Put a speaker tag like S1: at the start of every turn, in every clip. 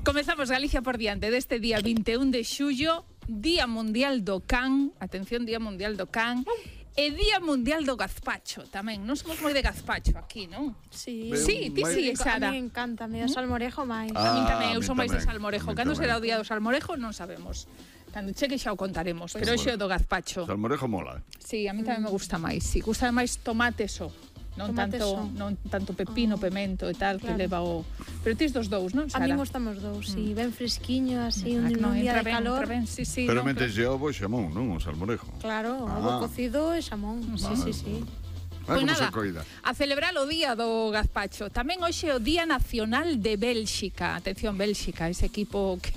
S1: Comezamos Galicia por diante deste día 21 de xullo, Día Mundial do Can, atención, Día Mundial do Can, e Día Mundial do Gazpacho tamén. Non somos moi de gazpacho aquí, non?
S2: Sí.
S1: Sí, ti sí, Sara.
S2: A mí me encanta, me da salmorejo máis.
S1: A min tamén, eu son máis de
S3: tamén.
S1: salmorejo.
S3: A min
S1: Cando
S3: tamén.
S1: será o Día do Salmorejo non sabemos. Cando cheque xa o contaremos, pero hoxe é o do gazpacho.
S3: Salmorejo mola.
S1: Sí, a mí tamén me gusta máis. Sí, gusta máis tomate só. Non
S2: Tomate
S1: tanto,
S2: só.
S1: non tanto pepino, pemento e tal, que
S2: Claro.
S1: leva o... Pero tis dos dous, non,
S2: A
S1: Sara?
S2: mí gustamos dous, sí, ben fresquiño, así, un
S1: Non,
S2: día
S1: entra
S2: de
S1: ben,
S2: calor.
S1: entra ben, sí, sí.
S3: Pero
S1: non,
S3: metes ovo e xamón, non? O salmorejo.
S2: Claro,
S3: Ah.
S2: ovo cocido e xamón. Sí.
S1: Pois
S3: Ah, como
S1: nada,
S3: se coida.
S1: a celebrar o día do gazpacho. Tamén hoxe é o Día Nacional de Bélxica. Atención, Bélxica, ese equipo que...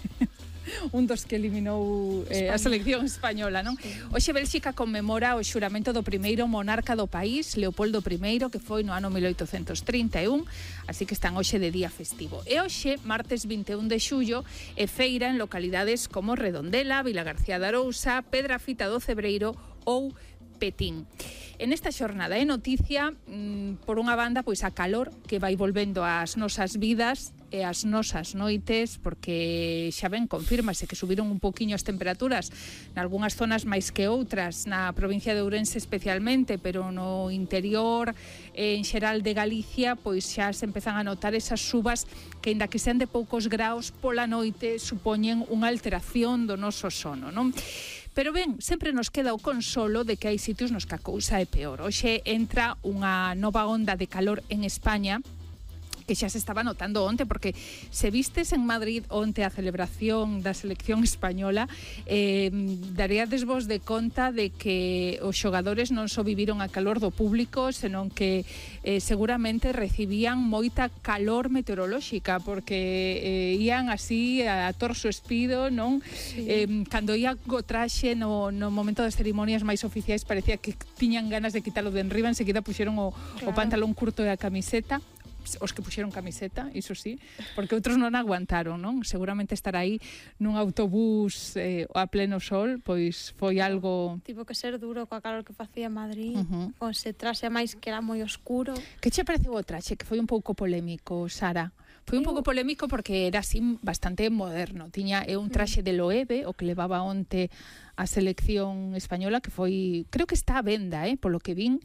S1: un dos que eliminou a selección española, non? Hoxe Bélxica conmemora o xuramento do primeiro monarca do país, Leopoldo I, que foi no ano 1831, así que están hoxe de día festivo. E hoxe, martes 21 de xullo, é feira en localidades como Redondela, Vilagarcía de Arousa, Pedrafita do Cebreiro ou Petín. En esta xornada é noticia, por unha banda, pois a calor que vai volvendo ás nosas vidas e ás nosas noites, porque xa ben, confírmase que subiron un poquinho as temperaturas nalgúnas zonas máis que outras, na provincia de Ourense especialmente, pero no interior en xeral de Galicia, pois xa se empezan a notar esas subas que, aínda que sean de poucos graus pola noite, supoñen unha alteración do noso sono, non? Pero ben, sempre nos queda o consolo de que hai sitios nos que a cousa é peor. Hoxe entra unha nova onda de calor en España, que xa se estaba notando onte, porque se vistes en Madrid onte a celebración da selección española, daríades vos de conta de que os xogadores non só viviron a calor do público, senón que seguramente recibían moita calor meteorolóxica, porque ían así a torso espido, non? Sí. Cando ia co traxe no momento das cerimonias máis oficiais parecía que tiñan ganas de quitalo de enriba, enseguida puxeron o pantalón curto e a camiseta. Os que puxeron camiseta, iso sí, porque outros non aguantaron, non? Seguramente estar aí nun autobús a pleno sol, pois foi algo...
S2: Tivo que ser duro coa calor que facía Madrid, con ese traxe máis que era moi oscuro.
S1: Que che pareceu o traxe? Que foi un pouco polémico, Sara. Foi un pouco polémico porque era así bastante moderno. Tiña un traxe de Loewe, o que levaba onte a selección española, que foi, creo que está a venda, polo que vin,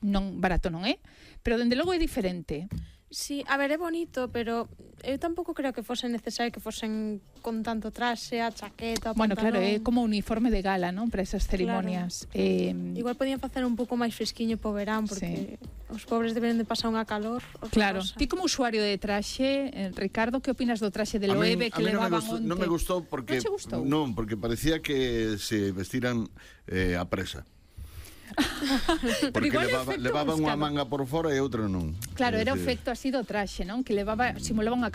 S1: non barato non é, pero dende logo é diferente.
S2: Sí, a ver, é bonito, pero eu tampouco creo que fose necesario que fosen con tanto traxe, a chaqueta, o pantalón.
S1: Bueno, claro, é como uniforme de gala, non? Para esas cerimonias.
S2: Claro. Igual podían facer un pouco máis fresquiño po verán, porque os pobres deben de pasar unha calor.
S1: Claro. Ti como usuario de traxe, Ricardo, que opinas do traxe de Loewe que levaban onte?
S3: Non me gustou porque...
S1: Non che gustou?
S3: Non, porque parecía que se vestiran a presa. Porque levaban unha manga por fora e outra non.
S1: Claro, era o efecto así do traxe, non? Que simulaba unha